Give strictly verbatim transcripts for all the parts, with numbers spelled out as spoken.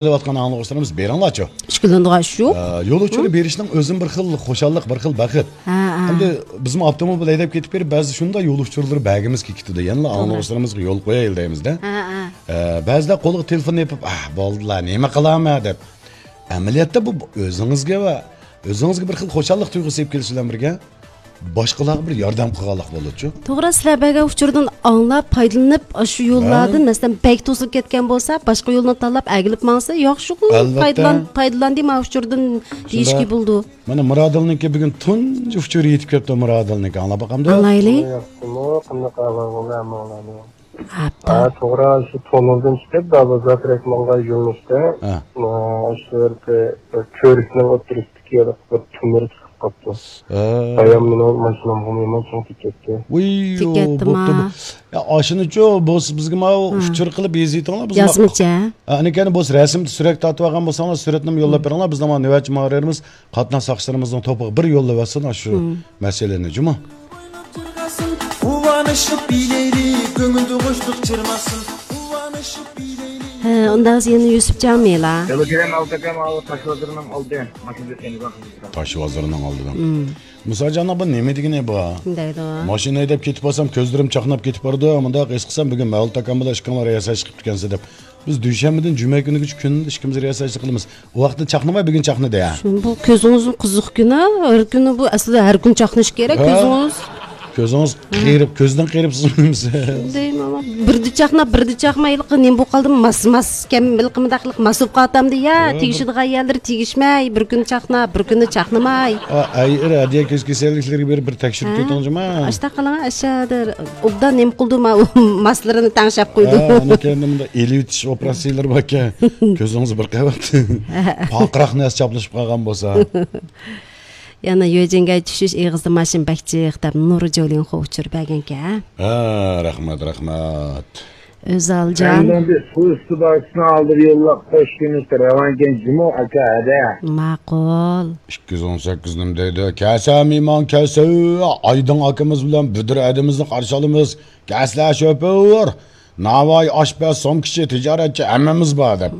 دەۋاتقان ئاڭلىغۇچىلىرىمىز بېرىڭلارچۇ. ئىككىلىنىدىغان ئىش يوق. ئە، يول ئۇچۇرى بېرىشنىڭ ئۆزىمۇ بىر خىل خۇشاللىق، بىر خىل بەخت. ھە، ھە. ئەمدى بىزمۇ ئاپتوموبىل ھەيدەپ كېتىپ بېرىپ، بەزىدە شۇنداق يول ئۇچۇرلىرى بەرگىمىز كېلىپ كېتىدۇ. يەنىلا توغرا. ئاڭلىغۇچىلىرىمىزغا يول قويايلى دەيمىزدە. ھە، ھە. ئە، بەزىدە قولىغا تېلېفون ئېلىپ، «ئاھ، بولدىلا، نېمە قىلامەن؟» دەپ. ئەمەلىيەتتە بۇ ئۆزىڭىزگە ۋە ئۆزىڭىزگە بىر خىل خۇشاللىق تۇيغۇسى ئېلىپ كېلىش بىلەن بىرگە، باشقىلارغا بىر ياردەم قىلغانلىق بولىدۇچۇ. توغرا، سىلەر بەرگەن ئۇچۇردىن ئاڭلاپ، پايدىلىنىپ، ئاشۇ يوللاردىن، ھە. مەسىلەن، بەك توسۇلۇپ كەتكەن بولسا، باشقا يولنى تاللاپ ئەگىلىپ ماڭسا، ياخشىغۇ، ئەلۋەتتە. پايدىلان-، پايدىلاندى ما ئۇچۇردىن دېيىشكە شۇنداق. بولىدۇ. مانا مۇرادىلنىڭكى بۈگۈن تۇنجى ئۇچۇرى يېتىپ كەپتۇ، مۇرادىلنىڭكى. ئاڭلاپ باقامدۇ؟ ئاڭلايلى. ياخشىمۇ؟ قانداق ئەھۋال بولدى ھەممىڭلارنىڭ؟ ئاپتا. ھە، توغرا، شۇ تونۇلدىن چىقىپ، دابازا تەرەپ ماڭغان يۆنىلىشتە، ھە. ئە، شۇ يەردە بىر كۆۋرۈكنىڭ ئوتتۇرىسىدىكى بىر تۆمۈر چىقىپ قاپتۇ. ھە. بايام مېنىڭ ماشىنامغىمۇ يامان چىڭ تېگىپ كەتتى. ۋۇي، تېگىپ كەتتىما. بوپتۇ بۇ. يا، ئاشۇنىچۇ، بولسا بىزگە ماۋۇ ھە. ئۇچۇر قىلىپ يېزىۋېتىڭلار، بىز يازمىچە. ھە، ئەنىكەنى بولسا رەسىمدە سۈرەت تارتىۋالغان بولساڭلار، سۈرەتنىمۇ يوللاپ بېرىڭلار، بىز نېمە نۆۋەتچى ماڭىرىمىز. قاتناش ساقچىلىرىمىزنىڭ توپىغا بىر يوللىۋەتسۇن شۇ مم. مەسىلىنى، جۇمۇ. قۇۋانىشىپ بىلەيلى، كۆڭۈلدە خۇشلۇق چىرماسۇن. قۇۋانىشىپ بىلەيلى. ھە، ئۇنداق يەنە يۈسۈپجان مېلا. يولدا كېلەم ئالتە ئاكام، ئاۋۇ تاش بازىرىنىڭ ئالدى. ماشىنا كەتكەن يولدا. تاش بازىرىنىڭ ئالدىدا. مم. مۇساجاننىڭ بۇ نېمە دېگىنى بۇ؟ دەيدۇ. ماشىنا ھەيدەپ كېتىپ بارسام، كۆزلىرىم چاقناپ كېتىپ بارىدۇ. مۇنداق ھېس قىلسام، بۈگۈن مەۋلۇت ئاكام بىلەن ئىككىڭلار رىياسەتچى قىپتىكەنسىز دەپ. بىز دۈشەنبىدىن جۈمە كۈنىگىچە كۈندە ئىككىمىز رىياسەتچىلىك قىلىمىز. ئۇ ۋاقىتتا چاقنىماي، بۈگۈن چاقنىدى ھە. شۇ، بۇ كۆزىڭىزنىڭ قىزىق كۈنى، ھەر كۈنى بۇ ئەسلىدە ھەر كۈن چاقنىشى كېرەك ھە؟ كۆزىڭىز. كۆزىڭىز ھە. قېرىپ، كۆزدىن قېرىپ سىزمىسىز. دەيمەن، بىردە چاقناپ، بىردە چاقماي، ھېلىقى نېمە بولۇپ قالدىمۇ، ماس، ماس ئىكەن، ھېلىقى مۇنداق ھېلىقى ماس بولۇپ قالاتامدۇ يا، ھە، بىر تېگىشىدىغان يەرلىرى تېگىشمەي، بىر كۈنى چاقناپ، بىر كۈنى چاقنىماي. ئا، ئەي، ئەر، ھەدىيە كۆز كېسەللىكلىرىگە بېرىپ بىر تەكشۈرۈپ ھە؟ كېتىڭ جۇما. ئاشتا قىلىڭ، ئاشادىر. ئوبدان نېمە قىلدى ما، ئۇ ماسلىرىنى تەڭشەپ قويدى. ھە، ئانا كەينىدە مۇنداق ئېلىۋېتىش ئوپېراتسىيىلىرى باركەن. كۆزىڭىز بىر قەۋەت. پارقىراق نەرسە چاپلىشىپ قالغان بولسا. يەنە يۆجىڭگەي چۈشۈش ئېغىزدا ماشىنا بەك جىق دەپ نۇر جولىنخو ئۇچۇر بەرگەنكەن. ھە، رەھمەت، رەھمەت. ئۆزەلجان. ئەمدى سۇ ئۈستى باغچىسىنىڭ ئالدىدا يوللاپ خوش كېلىپ راۋانكەن جۇمۇ ئاكا ھەدە. ماقۇل. ئىككى يۈز ئون سەككىز نېمە دەيدۇ؟ كەلسە مېھمان كەلسە، ئايدىڭ ئاكىمىز بىلەن بۈدۈر ھەدىمىزنى قارشى ئالىمىز. كەلسە شوپۇر، ناۋاي ئاشپەز، سومكىچى، تىجارەتچى ھەممىمىز بار دەپ.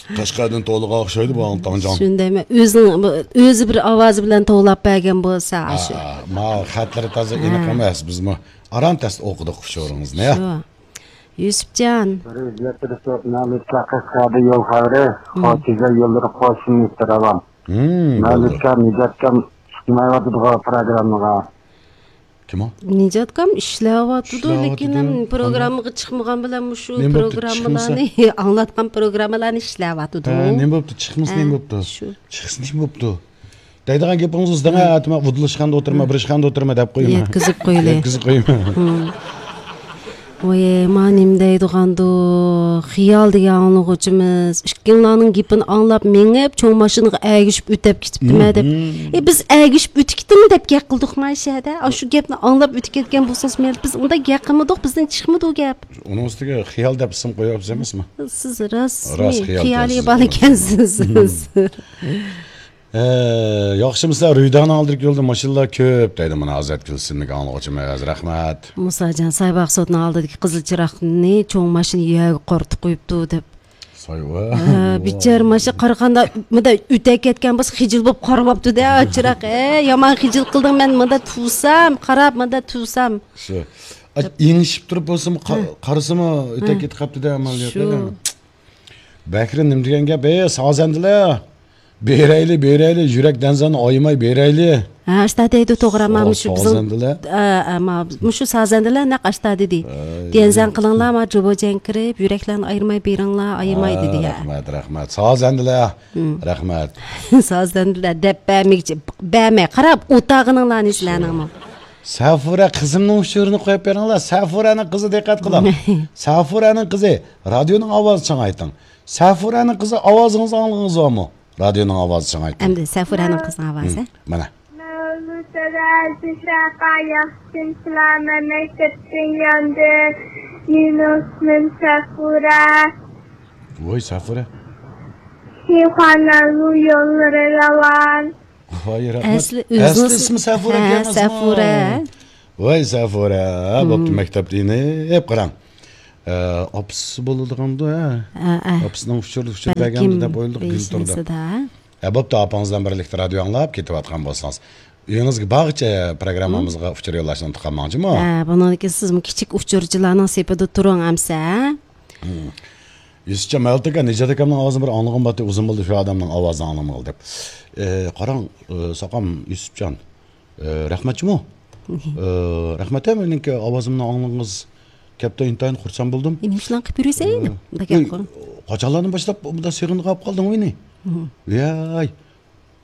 قەشقەردىن توۋلىغان ئوخشايدۇ بۇ ئاڭلىتاڭجان. شۇندايمۇ؟ ئۆزىنىڭ، ئۆزى بىر ئاۋازى بىلەن توۋلاپ بەرگەن بولسا، ئاشۇ. ھە، ما خەتلىرى تازا ئېنىق ھە. ئەمەس. بىزمۇ ئاران تەستە ئوقۇدۇق ئۇچۇرىڭىزنى. شۇ. يۈسۈپجان. بىر ئىزلەپ تۇرۇپ، مەلۇكە قەشقەردە يول خەۋىرى، مم. خوتىجا يوللىرى قوشۇن راۋان. مم، مەلۇكە، نىجاتكام چىقمايۋاتىدىغۇ پروگراممىغا. كىم ئۇ؟ نىجاتكام ئىشلەۋاتىدۇ، ئىشلەۋاتىدۇ. لېكىن ھەم پروگراممىغا چىقمىغان بىلەن مۇشۇ نېمە بوپتۇ، پروگراممىلارنى، ئاڭلاتقان پروگراممىلارنى ئىشلەۋاتىدۇ. ھە، نېمە بوپتۇ؟ چىقمىسا ھە، نېمە بوپتۇ؟ شۇ. چىقسا نېمە بوپتۇ؟ دەيدىغان گېپىڭىز ئۆزىدىڭ، ھە، ئەتىما ئۇدۇللاشقاندا ئولتۇرما، بىر ئىشخانىدا ئولتۇرما دەپ قويما. يەتكۈزۈپ قويلى. يەتكۈزۈپ قويما. ۋاي، ما نېمە دەيدىغاندۇ، خىيال دېگەن ئاڭلىغۇچىمىز ئىككىڭلارنىڭ گېپىنى ئاڭلاپ مېڭىپ، چوڭ ماشىنىغا ئەگىشىپ ئۆتەپ كېتىپتىمەن دەپ. ئى، بىز ئەگىشىپ ئۆتۈپ كېتىڭ دەپ گەپ قىلدۇقما شەدە؟ ئاشۇ گەپنى ئاڭلاپ ئۆتۈپ كەتكەن بولسىڭىز مەيلى، بىز ئۇنداق گەپ قىلمىدۇق، بىزدىن چىقمىدى ئۇ گەپ. ئۇنىڭ ئۈستىگە خىيال دەپ ئىسىم قويۇۋاپسىز ئەمەسمۇ؟ سىز راست، راست خىيال خىيالىي بالا ئىكەنسىز. ئە، ياخشىمۇسىلەر؟ رۇيدانىڭ ئالدىدىكى يولدا ماشىنىلار كۆپ دەيدۇ، مانا ئازاد كىلسىنلىك ئاڭلىغۇچىمىز، رەھمەت. مۇساجان، سايباغ سوتىنىڭ ئالدىدىكى قىزىل چىراغنى چوڭ ماشىنا يەرگە قارىتىپ قويۇپتۇ دەپ. سايۋا. ھە، بىچارە ماشىنا قارىغاندا مۇنداق ئۆتەپ كەتكەن بولسا خىجىل بولۇپ قارىۋاپتۇ-دە، چىراغ. ھە، يامان خىجىل قىلدىڭ، مەن مۇنداق تۇرسام، قاراپ مۇنداق تۇرسام. شۇ. ئېڭىشىپ تۇرۇپ بولسىمۇ، قارىسىمۇ ئۆتەپ كېتىپ قاپتۇ-دە، ئەمەلىيەتتە. شۇ. بەكرى نېمە دېگەن گەپ؟ ئەي، سازەندىلەر! بېرەيلى، بېرەيلى، يۈرەك دەنزەننى ئايىماي بېرەيلى. ھە، ئاشتا دەيدۇ توغرا، ما مۇشۇ بىزنىڭ، سازەندىلەر. ھە، ھە، ما مۇشۇ سازەندىلەر نەق ئاشتا دېدى. دەنزەن قىلىڭلار، ما جۇبۇ جەڭ كىرىپ، يۈرەكلەرنى ئايرىماي بېرىڭلار، ئايىماي دېدى، ھە. رەھمەت، رەھمەت. سازەندىلەر. رەھمەت. سازەندىلەر دەپ بەرمىگۈچى، بەرمەي، قاراپ ئولتۇرغىنىڭلارنى سىلەرنىڭمۇ. سەفۇرە قىزىمنىڭ ئۇچۇرىنى قويۇپ بېرىڭلار. سەفۇرەنىڭ قىزى، دىققەت قىلىڭ. سەفۇرەنىڭ قىزى، رادىيونىڭ ئاۋازى چىڭايتىڭ. سەفۇرەنىڭ قىزى، ئاۋازىڭىزنى ئاڭلىغىڭىز بارمۇ؟ رادىيونىڭ ئاۋازى چىڭايتىڭ. ئەمدى سەفۇرەنىڭ قىزىنىڭ ئاۋازى. مانا. مەۋلۇتەدە زۇھرەقا ياخشىمۇسىلەر، مەن مەكتەپتىن ياندىم. مېنىڭ ئىسمىم سەفۇرە. ۋاي سەفۇرە. شىخانەنلۇ يوللىرى راۋان. ۋاي رەھمەت. ئەسلى ئۆزىنىڭ ئەسلى ئىسمى سەفۇرە ھە، ئىكەن، سەفۇرە. ۋاي سەفۇرە، بوپتۇ، مەكتەپتە يېنىپ قاراڭ. ئە، ئاپىسى بولىدىغاندۇ، ھە؟ ئە، ئە. ئاپىسىنىڭ ئۇچۇر، ئۇچۇر بەرگەندۇ دەپ ئويلىدۇق، بىلتۇر دەپ. ھە، بوپتۇ، ئاپاڭىز بىلەن بىرلىكتە رادىيو ئاڭلاپ كېتىۋاتقان بولسىڭىز. ئۆيىڭىزگە بارغىچە پروگراممىمىزغا ئۇچۇر يوللاشنى ئۇنتۇپ قالماڭچىما؟ ھە، بۇنىڭدىن كېيىن سىزمۇ كىچىك ئۇچۇرچىلارنىڭ سېپىدە تۇرۇڭ ئەمسە، ھە؟ يۈسۈپجان، مەلىك ئاكا، نىجات ئاكامنىڭ ئاۋازىنى بىر ئاڭلىغۇم بارتى، ئۇزۇن بولدى شۇ ئادەمنىڭ ئاۋازىنى ئاڭلىمىغىلى دەپ. ئە، قاراڭ، ئە، ساقام يۈسۈپجان، ئە، رەھمەتچىمۇ؟ ئە، رەھمەت، ھە، مېنىڭكى ئاۋازىمنى ئاڭلىغىنىڭىز كەپتۇ، ئىنتايىن خۇرسەن بولدۇم. ئە، نېمە ئىشلارنى قىلىپ يۈرىسەن؟ ئە، ئۇنداق گەپ قىلغىن. قاچانلاردىن باشلاپ مۇنداق سېغىنىپ قالدىڭ مېنى؟ ۋاي.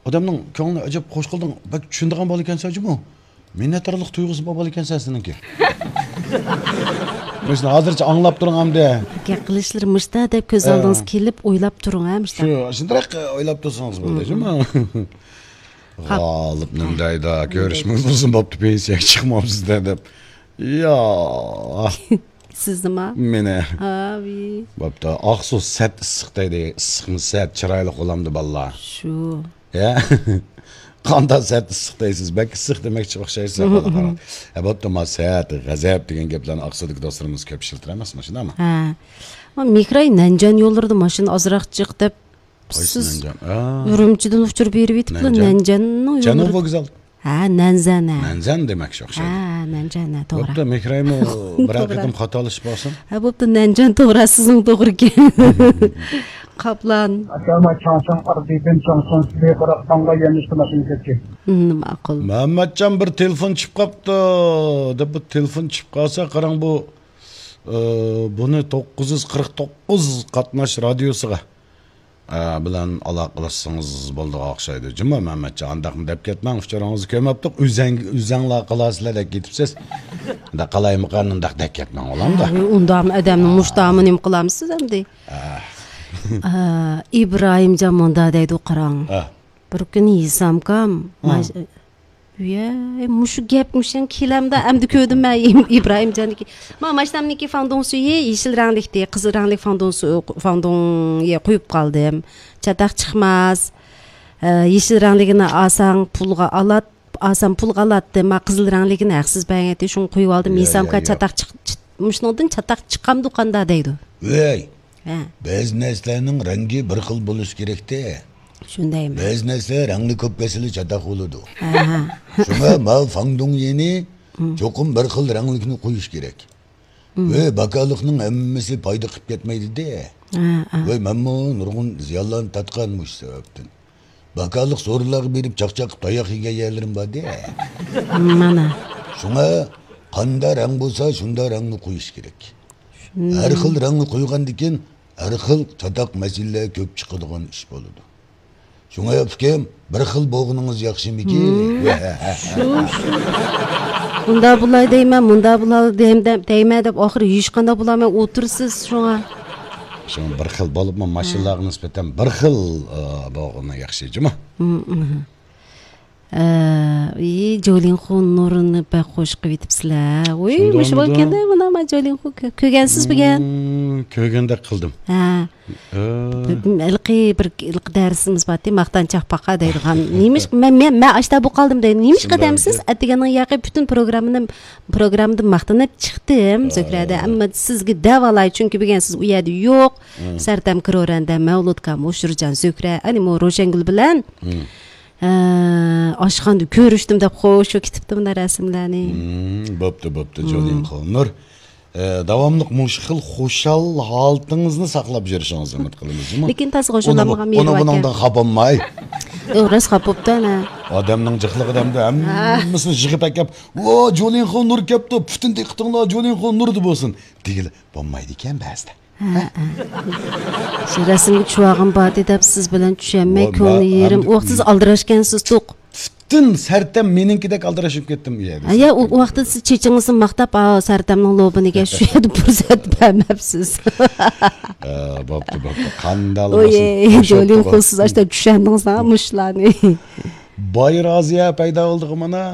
ئادەمنىڭ كۆڭلىنى ئەجەب خۇش قىلدىڭ. بەك چۈشىنىدىغان بالا ئىكەنسەن جۇمۇ. مىننەتدارلىق تۇيغۇسى بار بالا ئىكەنسەن سېنىڭكى. مۇشۇنى ھازىرچە ئاڭلاپ تۇرۇڭ ئەمدى. گەپ قىلىشلىرى مۇشتا دەپ كۆز ئالدىڭىزغا كېلىپ ئويلاپ تۇرۇڭ ھە مۇشتا. شۇ، شۇنداق ئويلاپ تۇرسىڭىز بولدى جۇمۇ. غالىپ نېمە دەيدۇ، كۆرۈشىمىز ئۇزۇن بوپتۇ، پېنسىيەگە چىقماپسىز دە دەپ. يا. سىزنىما؟ مېنى. ھاۋى. بوپتۇ. ئاقسۇ سەت ئىسسىق دەيدۇ. ئىسسىقمۇ سەت، چىرايلىق بولامدۇ بالىلار؟ شۇ. يا. قانداق سەت ئىسسىق دەيسىز؟ بەك ئىسسىق دېمەكچى ئوخشايسىز، قارا، قارا. ھە، بوپتۇ، ما سەت، غەزەپ دېگەن گەپلەرنى ئاقسۇدىكى دوستلىرىمىز كۆپ ئىشلىتىدۇ ئەمەسمۇ، شۇنداقمۇ؟ ھە. ما مېھراي نەنجان يوللىرىدا ماشىنا ئازراق جىق دەپ، سىز ئۈرۈمچىدىن ئۇچۇر بېرىۋېتىپلا، نەنجاننىڭ يوللىرىدا. ۋوگزال. ھە، نەنزەن، ھە. نەنزەن دېمەكچى ئوخشايدۇ. ھە، نەنزەن، ھە، توغرا. بوپتۇ، مېھرايمۇ بىرەر قېتىم خاتالىشىپ قالسۇن. ھە، بوپتۇ، نەنجان توغرا، سىزنىڭ توغرا ئىكەن. قاپلان. ئاكاما چاڭساڭ ئاردىدىن چاڭساڭ سىلى قاراپ تاڭغا يەنلىشتى ماشىنا كەتكەن. ماقۇل. مەمەتجان بىر تېلېفون چۈشۈپ قاپتۇ، دەپ بۇ تېلېفون چۈشۈپ قالسا، قاراڭ بۇ، ئى، بۇنى توققۇز يۈز قىرىق توققۇز قاتناش رادىيوسىغا ئە، بىلەن ئالاقىلەشسىڭىز بولىدىغان ئوخشايدۇ. جۇمۇ مەمەتجان، ئانداقمۇ دەپ كەتمەڭ، ئۇچۇرىڭىزنى كۆرمەپتۇق، ئۆزەڭ-، ئۆزەڭلار قىلارسىلەر دەپ كېتىپسىز. ئۇنداق قالايمىقان، ئۇنداق دەپ كەتمەڭ، ئۇلامدا. ھە، ئۇنداقمۇ ئادەمنىڭ مۇشتامى نېمە قىلامسىز ئەمدى؟ ئە، ئىبراھىمجان مۇندا دەيدۇ، قاراڭ. بىر كۈنى ھېسامكام، ھە. ماش-، ۋىي، مۇشۇ گەپ مۇشۇ كېلەمدۇ؟ ئەمدى كۆردۈم مەن ئىم-، ئىبراھىمجاننىڭكى. ما ماشىنامنىڭكى فاڭدۇڭ سۈيى يېشىل رەڭلىكتى، قىزىل رەڭلىك فاڭدۇڭ سۈ-، فاڭدۇڭ يە قويۇپ قالدىم. چاتاق چىقماس. ئە، يېشىل رەڭلىكىنى ئالساڭ پۇلغا ئالات-، ئالسام پۇلغا ئالاتتى. ما قىزىل رەڭلىكىنى ھەقسىز بەرگەنتى، شۇڭا قويۇۋالدىم. يا، يا، ھېسامكا يا. چاتاق چىق-، چىت-، مۇشۇنىڭدىن چاتاق چىقامدۇ قاندا دەيدۇ. ۋەي. ھە. بەزى نەرسىلەرنىڭ رەڭگى بىر خىل بولۇشى كېرەكتە. شۇندايمۇ؟ بەزى نەرسىلەر رەڭنى كۆپ كەلسىلا چاتاق بولىدۇ. ھە، ھە. شۇڭا ماۋۇ فاڭدۇڭيىنى چوقۇم بىر خىل رەڭلىكنى قويۇش كېرەك. ۋە باكالىقنىڭ ھەممىسى پايدا قىلىپ كەتمەيدۇ-دە. ھە، ھە. ۋەي، مەنمۇ نۇرغۇن زىيانلارنى تارتقان مۇشۇ سەۋەبتىن. باكالىق سورۇنلارغا بېرىپ چاقچاق قىلىپ تاياق يېگەن يەرلىرىم بار-دە. مانا. شۇڭا قاندا رەڭ بولسا، شۇندا رەڭنى قويۇش كېرەك. ھەر خىل رەڭنى قويغاندىكىن، ھەر خىل چاتاق مەسىلىلەر كۆپ چىقىدىغان ئىش بولىدۇ. شۇڭا ئۇكام، بىر خىل بولغىنىڭىز ياخشىمىكىن؟ شۇ، شۇ. ئۇندا بۇلاي دەيمەن، مۇندا بۇلاي دەيمەن، دەيمەن دەپ ئاخىرى ھېچقانداق بولالماي ئولتۇرىسىز شۇڭا. شۇڭا بىر خىل بولۇپمۇ ماشىنىلارغا نىسبەتەن بىر خىل، ئە، بولغىنى ياخشى جۇمۇ. ئە، ئى، جولىنخۇ نۇرىنى بەك خوش قىلىۋېتىپسىلەر. ۋۇي، مۇشۇ بولغاندا مانا، مانا جولىنخۇ كۆ-، كۆرگەنسىز بۈگۈن؟ كۆرگەندەك قىلدىم. ھە. ھېلىقى بىر، ھېلىقى دەرسىمىز بارتى، ماختانچاق پاقا دەيدىغان. نېمىش-، مەن، مەن، مەن ئاشتا بۇ قالدىم دەيدۇ. نېمىشقا دەمسىز؟ ئەتىگەننىڭ ياقى پۈتۈن پروگراممىنى، پروگراممىدىن ماختىنىپ چىقتىم زۆھرەدە. ئەمما سىزگە دەۋالاي، چۈنكى بۈگۈن سىز ئۇ يەردە يوق. سەرتەم كىرورەندە، مەۋلۇتكام، ئوشۇرجان، زۆھرە، ئەنىمۇ روشەنگۈل بىلەن. ھە، ئاشخانىدا كۆرۈشتۈم دەپ خوش كېتىپتۇ مۇندا رەسىملەرنى. بوپتۇ، بوپتۇ، جولىنخۇ نۇر. ئە، داۋاملىق مۇشۇ خىل خۇشال ھالىتىڭىزنى ساقلاپ يۈرۈشىڭىزنى ئۈمىد قىلىمىز، جۇمۇ. لېكىن تازا خۇشاللانمىغان مېھرىبان ئۇنى ئاكا. بۇنىڭدىن خاپا بولماي. ئۇ راست خاپا بوپتۇ، ئەنە. ئادەمنىڭ جىقلىقىدا ئەمدى ھەممىسىنى يىغىپ ئەكەپ، ۋو، جولىنخۇ نۇر كەپتۇ، پۈتۈن دىققىتىڭلار جولىنخۇ نۇردا بولسۇن، دېگىلى بولمايدىكەن بەزىدە. ھە، ھە. شۇ رەسىمگە چۈشۈۋالغىن بارتى دەپ سىز بىلەن چۈشەنمەي، ۋاي، كۆڭلى يېرىم. ئۇ ۋاقىتتا سىز ئالدىراشكەنسىز توق. پۈتۈن سەرتەم مېنىڭكىدەك ئالدىراش بولۇپ كەتتىم ئۇ يەردە. ھە، يا، ئۇ، ئۇ ۋاقىتتا سىز چېچىڭىزنى ماختاپ، ئا، سەرتەمنىڭ لوبىنىگە شۇ يەردە پۇرسەت بەرمەپسىز. ھە، بوپتۇ، بوپتۇ. قانداق ئوي، جولىنخۇ سىز ئاشتا چۈشەندىڭىز ھە مۇشۇلارنى. باي رازىيە پەيدا بولدىغۇ مانا.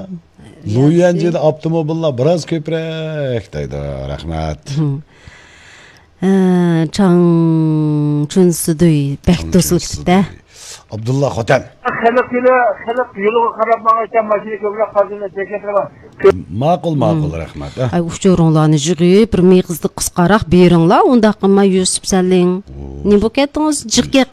لۇيۈەنجىدە ئاپتوموبىللار بىراز كۆپرەك دەيدۇ. رەھمەت. ھە، چاڭ چۈنسىدۇي بەك توسۇلۇپ كېتىپتۇ. ئابدۇللا خوتەن. خەلق يولى، خەلق يولىغا قاراپ ماڭىدىكەن، ماشىنا كۆپرەك قالدى، چەكلەپ تۇرغان. ماقۇل، ماقۇل، رەھمەت. ئە. ئاي، ئۇچۇرۇڭلارنى يىغىپ، بىر مېغىزدا قىسقاراق بېرىڭلار، ئۇنداق قىلماي يۈسۈپ سەلىڭ. نېمە بولۇپ كەتتىڭىز؟ جىق گەپ